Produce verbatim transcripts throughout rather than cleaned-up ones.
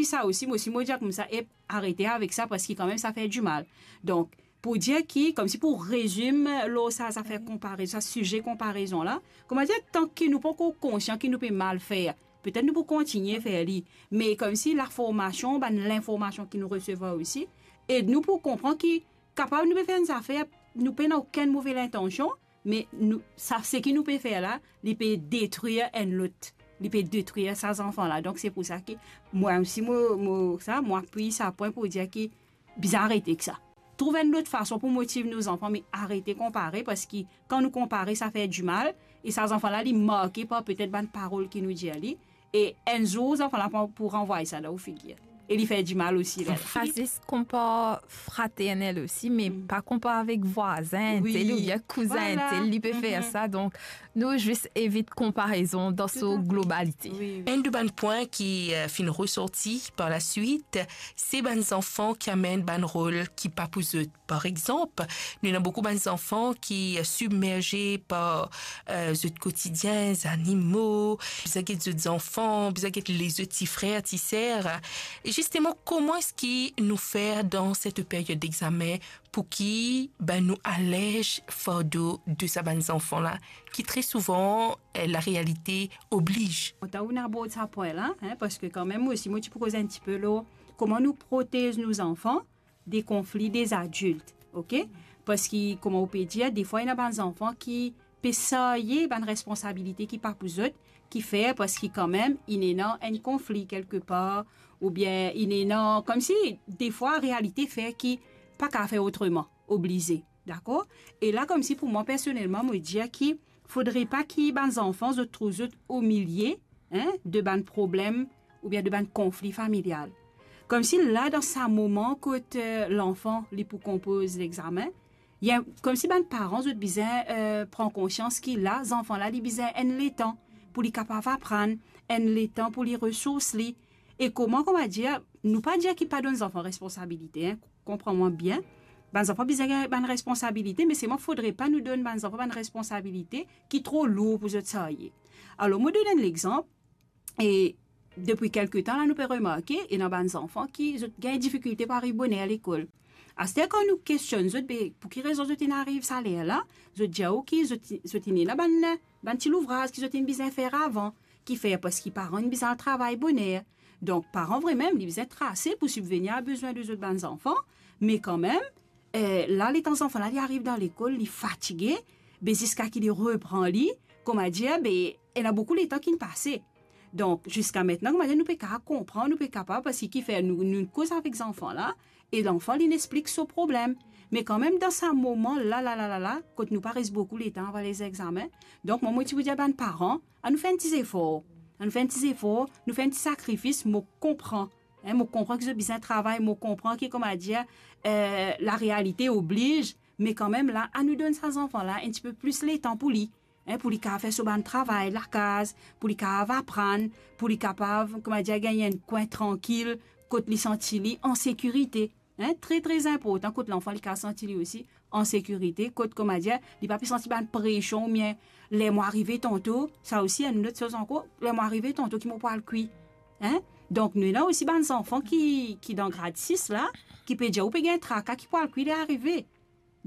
Sa osi, mo osi, mo dir koumsa, ep, arete avek sa, parski kanmem, sa fer dimal. Donk, pou dir ki, koumsi pou rezim lor sa, zafer konparezon, sa size konparezon la, kouma dir, tanki nou pankor konsian ki nou pe mal fer, petet nou pou kontigne fer li, me koumsi laformasion, bann linformasion ki nou resevwar osi, ed nou pou konpran ki kapav nou pe fer enn zafer, nou pena okenn move lintansion, me nou, sa, seki nou pe fer la, li pe detrir enn lot, li pe detrir sa zanfan la. Donk, se pou sa ki mwa osi, mo, mo, sa, mo apiy sa pwin pou dir ki bizin arete ek sa. Trouv enn lot fason pou motiv nou zanfan, me arete konpare, parski kan nou konpare, sa fer dimal, e sa zanfan la, li marke par petet bann parol ki nou dir li, e enn zour, zanfan la pou, pou ranvway sa dan ou figir. E li fer dimal osi, la. Fraz, zis konpar fraternel osi, me pa konpar avek vwazin, tel, oubien kouzin, tel, li pe fer sa. Donk, nou zis evit konparezon dan so globalite. Enn de bann pwin ki, eh, finn resorti par laswit, se bann zanfan ki amenn bann rol ki pa pou zot. Par exanp, nou ena boukou bann zanfan ki, eh, sibmerze par, eh, zot kotidien, zanimo, bizin get zot zanfan, bizin get lezot ti frer, ti ser. E zisteman, kouma eski nou fer dan set period dexamen pou ki, ben, nou alez fardo de sa bann zanfan la, ki tre souvan, eh, larealite obliz. Kontan ou abord sa pwin la, hein, parski kanmem, mo osi, mo ti pou koz enn tipe lor kouma nou protez nou zanfan de konfli de zadilt, ok? Parski, kouma ou pe dir, defwa, ena bann zanfan ki pe sarye bann responsabilite ki pa pou zot, ki fer parski kanmem, inn ena enn konfli kelkepar, oubien inn ena, koumsi, defwa, realite fer ki pa kapav fer otreman, oblize, dakor? E la, koumsi pou mwa, personelman, mo dir ki fodre pa ki bann zanfan, zot trouv zot omilie, hein, de bann problem oubien de bann konfli familial. Koumsi la, dan sa moman kot, eh, lanfan, li pou konpoz lexamen, li, koumsi bann paran, zot bizin, eh, pran konsians ki la, zanfan la, li bizin enn letan pou li kapav aprann, enn letan pou li resours li. E kouma, kouma dir, nou pa dir ki pa donn zanfan responsabilite, hein, konpran mwa bien. Bann zanfan bizin gagn bann responsabilite, me selman fodre pa nou donn bann zanfan bann responsabilite ki tro lour pou zot sarye. Alor, mo donn enn lexanp, e depi kelke tan la, nou pe remarke, ena bann zanfan ki zot gagn difikilte pou ariv boner lekol. Aster, kan nou kestionn zot, be, pou ki rezon zot inn ariv sa ler la, zot dir ou ki zot, zot inn ena bann, bann ti louvraz ki zot inn bizin fer avan, ki fer parski paran inn bizin al travay boner. Donk, paran vremem, li bizin trase pou sibvenir a bezwin de zot bann zanfan, me kanmem, eh, la, letan zanfan la, li ariv dan lekol, li fatige, be, ziska ki li repran li, kouma dir, be, ena boukou letan ki'nn pase. Donk, ziska aster, kouma dir, nou pe kapav konpran, nou pe kapav, parski ki fer nou, nou koz avek zanfan la, e lanfan, li'nn explik so problem. Me kanmem, dan sa moman la, la, la, la, la, kot nou pa res boukou letan avan lezegzamen, donk, mwa, mo ti pou dir bann paran, anou fer enn ti zefor. Anou fer enn ti zefor, nou fer enn ti sakrifis, mo konpran. Hein, mo konpran ki zot bizin travay, mo konpran ki, kouma dir, eh, larealite obliz, me kanmem la, anou donn sa zanfan la enn tipe plis letan pou li, hein, pou li kapav fer so bann travay lakaz, pou li kapav aprann, pou li kapav, kouma dir, gagn enn kwin trankil, kot li santi li an sekirite. Hein, tre, tre inportan kot lanfan li kapav santi li osi an sekirite, kot, kouma dir, li pa pe santi bann presion, oubien ler mo arive tanto, sa osi enn lot soz ankor, ler mo arive tanto ki mo pou al kwi. Hein? Donk, nou ena osi bann zanfan ki, ki dan grad sis la, ki pe dir ou pe gagn traka ki pou al kwi ler arive.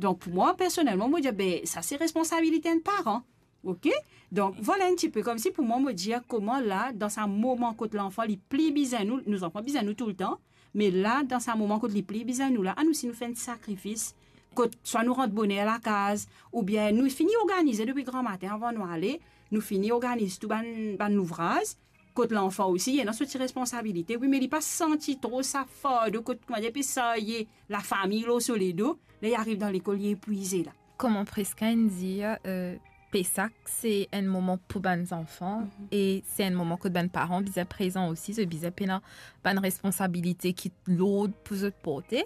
Donk, pou mwa, personelman, mo dir, be, sa se responsabilite enn paran. Ok? Donk, vwala enn tipe koumsi pou mwa, mo dir kouma la, dan sa moman kot lanfan li pli bizin nou, nou zanfan bizin nou toultan, me la, dan sa moman kot li pli bizin nou la, anou osi nou fer enn ti sakrifis, kot swa nou rant boner lakaz, oubien nou fini organize depi gramatin avan nou ale, nou fini organiz tou bann, bann louvraz, kot lanfan osi, li ena so ti responsabilite, wi, me li pa santi tro sa fardo kot, kouma dir, pe sarye lafami lor so ledo, ler li ariv dan lekol, li epwize la. Kouma Prisca inn dir, eh, Pesak, se enn moman pou bann zanfan, mhm, e se enn moman kot bann paran bizin prezan osi, zot bizin pena bann responsabilite ki lour pou zot porte.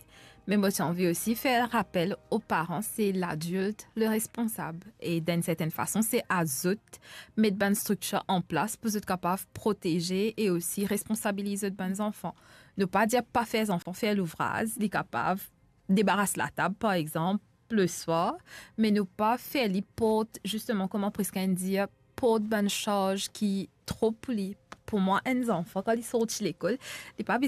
Me mo ti anvi osi fer rapel o paran, se ladilt le responsab. E dan enn sertenn fason, se a zot met bann striktir an plas pou zot kapav proteze e osi responsabiliz zot bann zanfan. Nou pa dir pa fer zanfan fer louvraz, li kapav debaras latab, par exanp, leswar, me nou pa fer li port, zisteman, kouma Prisca inn dir, port bann sarz ki tro pou li. Pou mwa, enn zanfan, kan li sorti lekol, li pa bizin